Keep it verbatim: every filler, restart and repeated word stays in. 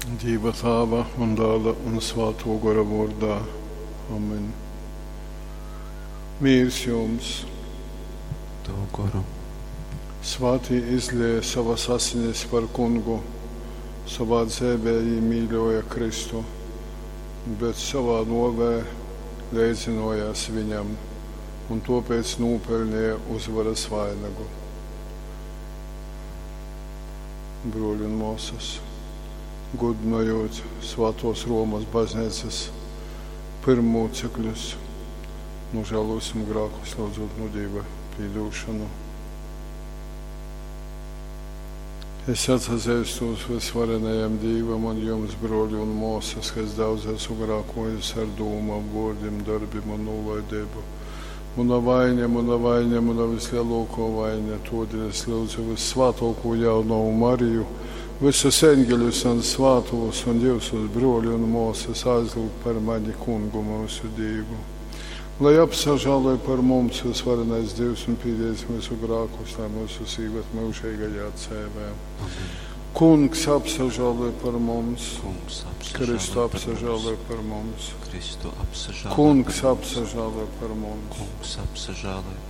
Dīva Tāva un Dāla un Svātō Gora vōrdā. Amen. Mīrs jums! Tavu goru. Svātī izlēja sovas asinis par Kungu, sovā dzeivē jī mīļōja Kristu, bet sovā nōvē leidzynōjās viņam un tōpēc nūpeļneja uzvaras vainagu. Brōļi un mōsas, gudynojūt Svātōs Romas bazneicas pyrmmūcekļus, nožālōsim grākus, lyudzūt nu Dīva pīdūšonu. Es atsazeistūs vysvarenajam Dīvam un jums, brōļi un mōsas, ka es daudz esmu grākōjis ar dūmom, vōrdim, dorbim un nūlaideibu. Muna vaiņa, muna vaiņa, muna vyslelōkō vaiņa. Tōdēļ es lyudzu vyssvātōkū jaunovu Mariju, vysus eņgeļus un svātūs un jyusus, brōļi un mōsas, aizlyugt par mani Kungu myusu Dīvu. Lai apsažāloj par mums vysvarenais Dīvs un pīdēdz myusu grākus, lai myusus īvad myužeigajā dzeivē. Amen. Kungs apsažāloj par mums. Kungs Kristu apsažāloj par mums. Apsažāloj par mums. Kristu apsažāloj Kungs par mums. Apsažāloj par mums. Kungs apsažāloj par